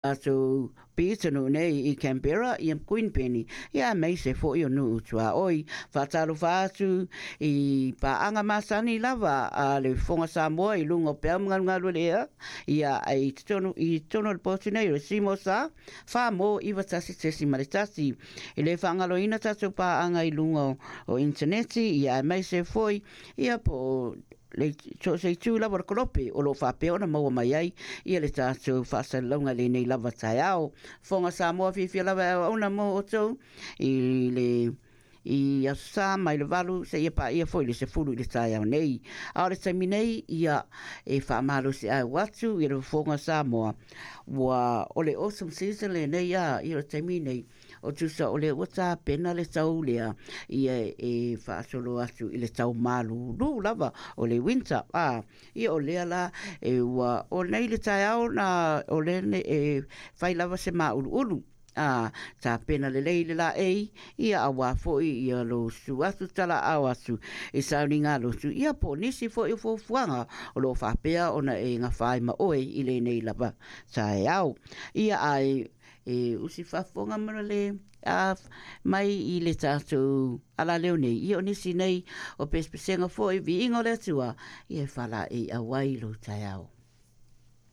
Tatou pitonuu nei i Canberra, ia Queenpenny, ia aemaise foi o nuu tuaoi. Faatalofa atu i paaga masani lava a le Fofoga Samoa i luga o peau ma galugalu o le ea, ia i totonu, i totonu o le potu nei o le Seymour Sa, 4 mo 91.1. E le faagaloina tatou paaga i luga o initaneti, ia aemaise foi ia po o le so o se itu lava o le kolope o lo o faapea ona maua mai ai ia le tatou faasalalauga i lenei lava taeao. Fofoga Samoa fiafia lava e auauna mo outou i le i Aso Sa mai le 8 seia paia foi le 10 i le taeao nei. A o le taimi nei, ia e faamalosiau atu i le Fofoga Samoa, ua o le autumn season lenei a, ia o le taimi nei, O tusa o lea ua tapena le tau lea ia e faasolo atu i le tau malūlū lava o le winter. A, ia o lea la e ua o nei le taeao na o lea nei e fai lava se māʻuluʻulu. A, tapena lelei le laei, ia auā foi ia lou susu atu talaau atu i sauniga lotu, ia po o nisi foi o fuafuaga o lo o faapea ona e gafa ai ma oe i lenei lava taeao. Ia ae E usi faafofoga ma le a mai i le tatou alaleo nei, ia o nisi nei o pesepesega foi, viiga o le Atua, ia e faalaeiau ai lou taeao.